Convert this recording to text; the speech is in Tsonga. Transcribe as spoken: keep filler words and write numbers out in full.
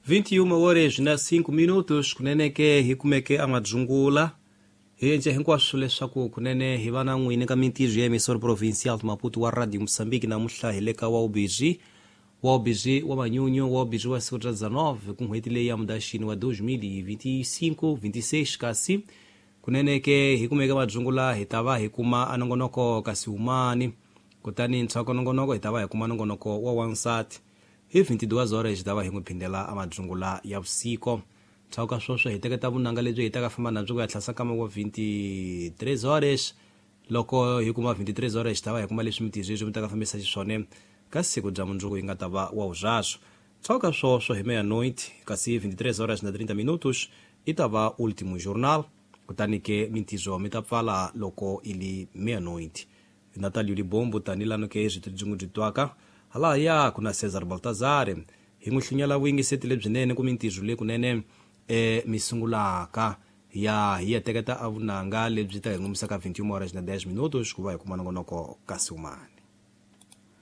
vinte e uma horas na cinco minutos. Kunene ke hi kumeke amadzungula hi endle hinkwaswo leswaku kunene hi va na n'wini ka mintirho ya emissora provincial Maputo wa Radio Moçambique. Namuntlha hi le ka Waubizhi, Waubizhi wa manyunyu, Waubizhi wa siku ra dezenove ku n'hweti leyi ya Mudaxini wa dois mil e vinte e cinco, vinte e seis. Kasi kunene ke hi kumeke madzungula hi ta va hi kuma a nongonoko kasi humani, kutani ntswako nongonoko hi ta va hi kuma nongonoko wa wansati hi vinte e duas horas. Hi ta va hi n'wi phindela a madzungula ya vusiku. Ndzhaku ka sweswo hi teketa vunanga lebyi hi ta ka famba nabyo ku ya tlhasa nkama wa vinte e três horas. Loko hi kuma vinte e três horas, hi ta va hi kuma leswi mitizo leswi mi ta ka fambisa xiswona ka siku bya mundzuku yi nga ta va wa vuzvaswo. Ndzhaku ka sweswo hi meia-noite, kasi vinte e três horas na trinta minutos, i ta va último jornal. Kutani ke mintizo mi ta pfala loko i li meia-noite. Natalio Libombo tanilano ke byi byi byi twaka halaya ku na Cesar Baltazar hi n'wi hlunyela vuyingiseti lebyinene ku mintirho leyi kunene e mi sungulaka ya hi ya teketa a vunanga lebyi ta hi ngumisaka vinte e uma horas na dez minutos ku va hi kuma nongonoko kasi umani.